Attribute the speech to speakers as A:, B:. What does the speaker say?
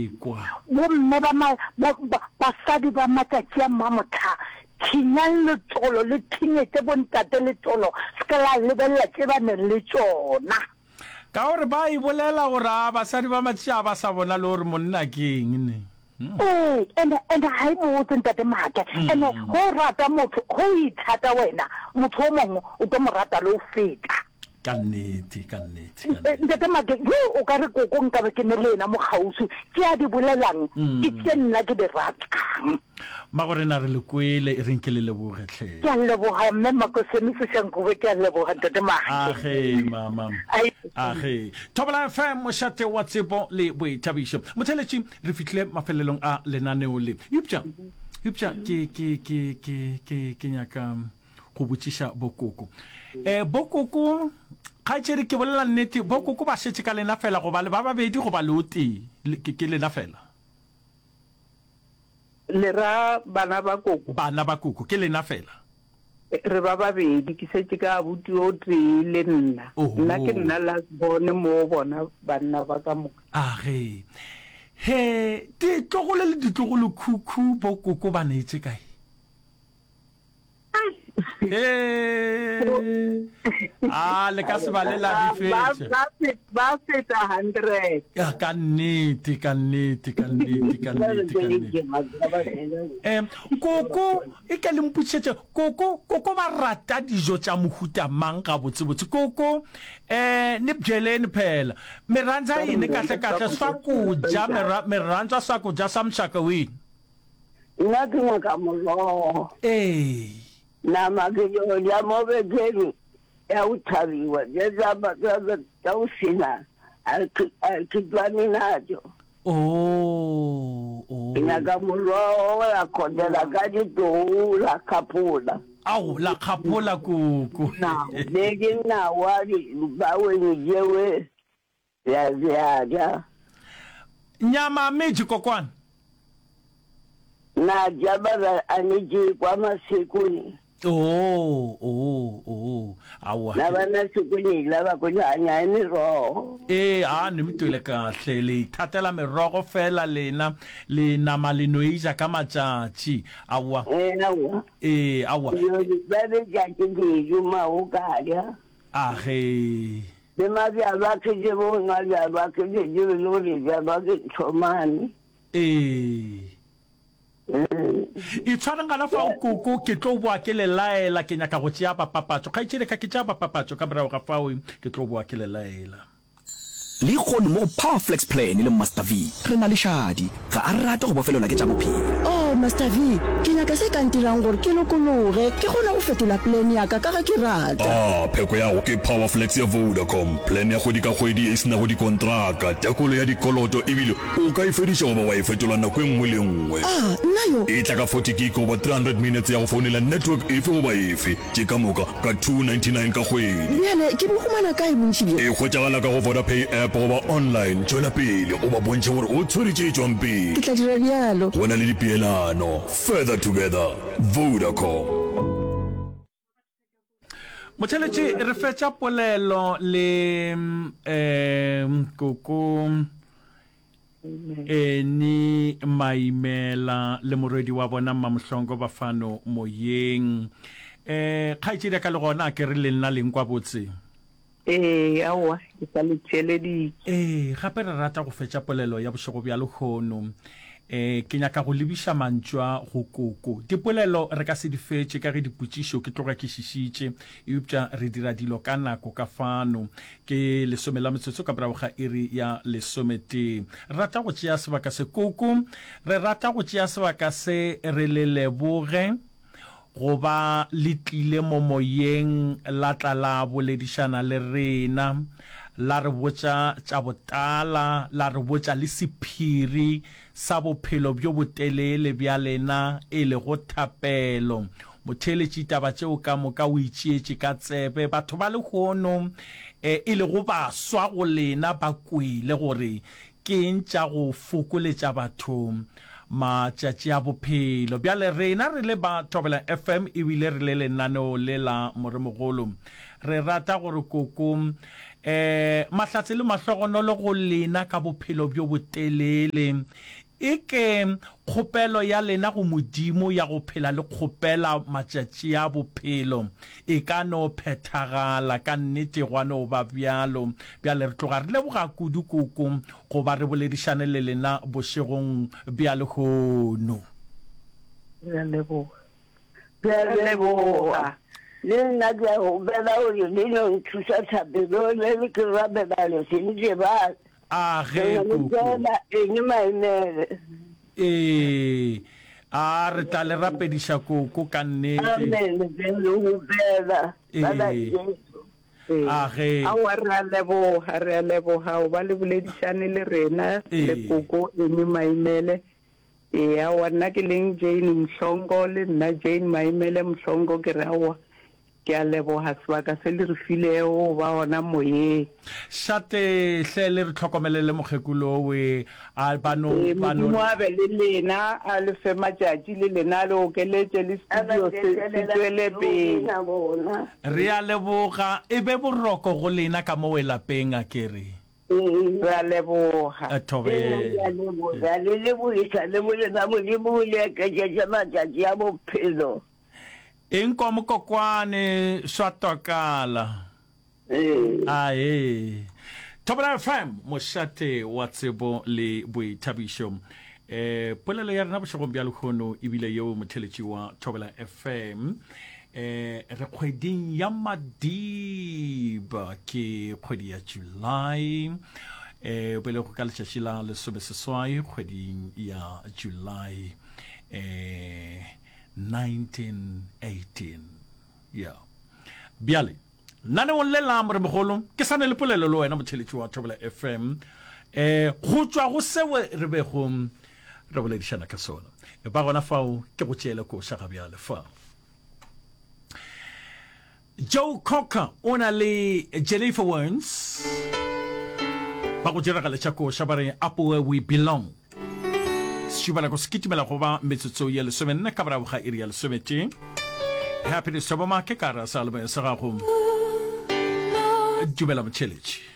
A: Ekwa.
B: Bomme ba ma, ba, ba, basadi ba matšatši a mamohla, thinyang letolo, le thinyetše bontate letolo, se ke la lebelela tše ba neng le tšona.
A: Ka gore ba e bolela gore a basadi ba matšatši a ba sa bona le gore monna ke eng ne.
B: Ee, ene, ene ga e botse ntate Maake. Ene ge o rata motho, ge o ithata wena, motho o mongwe o tlo mo rata le go feta.
A: Ka nnete, ka nnete, ka nnete.
B: Ntate Maake, yo o ka re koko nkabe ke ne le yena mo kgauswi, tše a di bolelang ke tše nna ke di ratang.
A: Mmagorena re le kwele, e reng ke le leboge hle.
B: Ke a leboga Mme Makoseni Seshankuwe, ke a leboga Ntate Maake.
A: Age mama. Age. Thobela FM, mošate wa tsebo le boithabišo. Motheeletši, re fihlile mafelelong a lenaneo le. Eupša, eupša ke, ke, ke, ke, ke, ke nyaka go botšiša bokoko. Eh, bokoko, kgaetšedi ke bolela nnete, bokoko ba šetše ka lena fela goba le ba babedi goba le o tee? Ke, ke lena fela?
C: Le ra bana ba koko?
A: Bana ba koko, ke lena fela?
C: Re ba babedi, ke šetše ka abuti o tee le nna. Nna ke nna last born mo bona banna ba ka moka.
A: Age. He, ditlogolo le ditlogolokhukhu bo koko ba neetše kae? He. A le ka se ba le la di fetša.
C: Ba feta 100.
A: Ya ka nnete, ka nnete, ka nnete, ka nnete, ka nnete. Eh, koko e ke le mpotšišetše, koko, koko ba rata dijo tša mohuta mang gabotsebotse? Koko, eh, ni byeleni phela. Mi rhandza yini kahle-kahle swakudya, mi rhandza swakudya swa muxaka wihi?
D: Nna ke nyaka morogo.
A: Ee.
D: Nama ke yo ja mo bekeng ya go thabiwa, tše tša go sena a ke tšwane natšo.
A: Oh, oh.
D: Ke nyaka morogo la khotela ka ditou la khapola.
A: Ao, la khapola koko.
D: Le dinawa di baweni jewe ya ya ja.
A: Nyama meji kokwane.
D: Na ja ba a ne je kwa masekoni.
A: Oh, oh, oh. Aowa.
D: Na ba na sekoni la ba ko hanya merogo.
A: Ee, a ne mtwele kahle le ithatela merogo fela lena le nama le no e ja ka matšatši. Aowa.
D: Ee, aowa.
A: Ee, aowa.
D: Ba be tšatši dijo mago ka ja.
A: A ge.
D: Le mabjalwa ke je bo nwa bjalwa ke je je le gore bjalwa ke nthomane.
A: Ee. Itshwareng gona fao koko, ke tlo boa ke le laela, ke nyaka go tšea bapapatšo. Kgaetšedi ka ke tšea bapapatšo, ka morago ga fao ke tlo boa ke le laela.
E: Lehono mo go Power Flex Plan le Master V, re na le Shadi. Ga a rate go bofelelwa ke tša bophelo.
F: Oh, Master V, ke nyaka se ka ntirang gore ke lokologe, ke kgone go fetola plan ya ka ka ge ke rata.
G: Ah, pheko ya go ke Power Flex ya Vodacom, plan ya kgwedi ka kgwedi ye e se nago dikontraka, tekolo ya dikoloto ebile O ka e fediša goba wa e fetola nako e nngwe le e nngwe.
F: A, nna yo?
G: E tla ka 40 gig goba 300 minutes ya go founela network efe goba efe, tše ka moka ka 299 ka kgwedi.
F: Bjale ke bo humana kae bontši bjo?
G: E hwetšagala ka go Vodapay app goba online. Tšwela pele o ba bontšhe gore o tshwere tše tšwang pele.
F: Ke tla dira bjalo.
G: Go na le dipeelano. Further together. Vodacom.
A: Motheletši re fetša polelo le um koko Eni Maimela le morwedi wa bona Mmamohlongo ba fano moyeng. Um kgaetšedi ya ka le gona a ke re le nna le nkwa botse?
C: Ee, aowa, ke sa le theeleditše.
A: Ee, gape re rata go fetša polelo ya bošego bja lehono. Ee, ke nyaka go lebiša mantšu a go koko. Dipolelo re ka se di fetše ka ge dipotšišo ke tloga ke šišitše, eupša re dira dilo ka nako ka fano. Ke lesome la metsotso ka morago ga iri ya lesometee. Re rata go tšea sebaka se, koko, re rata go tšea sebaka se re le leboge. Go ba le tlile mo moyeng la tla la boledišana le rena, la re botša tša botala, la re botša le sephiri sa bophelo bjo botelele bja lena, e lego thapelo. Motheeletši taba tšeo ka moka o itšeetše ka tsebe. Batho ba lehono, e lego baswa go lena, ba kwele gore Ke eng tša go fokoletša batho matšatši a bophelo? Bjale rena re le ba Thobela FM ebile re le lenaneo le la Moremogolo, re rata gore koko um Um mahlatse le mahlogonolo go lena ka bophelo bjo botelele. Eke kgopelo ya lena go Modimo ya go phela le kgopela matšatši a bophelo e ka no phethagala. Ka nnete gwa no ba bjalo. Bjale re tloga re leboga kudu koko go ba re boledišane le lena bošegong bja lehono.
C: Re a leboga.
D: Ke a leboga. Le nna ke a kgopela gore le no nthuša thapelong le le ke rapela le se ntebale.
A: A ge koko.
D: Fela eng maemele.
A: Ee, a re tla le rapediša koko ka nnete.
D: Amen, ke a le kgopela. Bana
A: Ee.
D: Jesu.
A: A ge.
C: Aowa re a leboga, re a leboga go ba le boledišane le rena le
A: Ee.
C: koko Amy Maimele. Ee, aowa nna ke leng Jane Mhlongo le nna Jane Maimele Mhlongo ke re aowa ke a leboga sebaka se le re filego go ba gona moyeng.
A: Šate hle le re hlokomelele mokgekolo owe a ba no
C: Ee,
A: ba no
C: Modimo a be le lena, a le fe matšatši le lena, a le okeletše le studio se se tšwele pele.
A: Re a leboga, e be boroko go lena ka mowe lapeng a ke re.
C: Re a leboga.
A: Thobela.
D: Ke a leboga le lebogiša le bolena Modimo o le eketšetše matšatši a bophelo.
A: Eng kwa mokokwane swa twakala. Ae. Thobela FM, mošate wa tsebo le boithabišo. Eh, polelo ya rena bošegong bja lehono ebile yeo motheletši wa Thobela FM. Eh, re kgweding ya Madiba, ke kgwedi ya July. Eh, belego ka letšatši la lesomeseswai kgweding ya July. Eh, 1918. Yeah. Bjale, naneong le la moremogolo, ke sa ne le polelo le wena motheletši wa Thobela FM. Eh, go tšwa go seo re bego re boledišana ka sona. Ba gona fao ke go tšeele koša ga bjale fa. Joe Cocker o na le Jennifer Warnes ba go diragaletša koša ba re Up Where We Belong. Sešupanako se kitimela go ba metsotso ye lesomenne ka morago ga iri ya lesometee. Happiness Thoboma ke ka ra sa sa gago. Dumela motšheletši.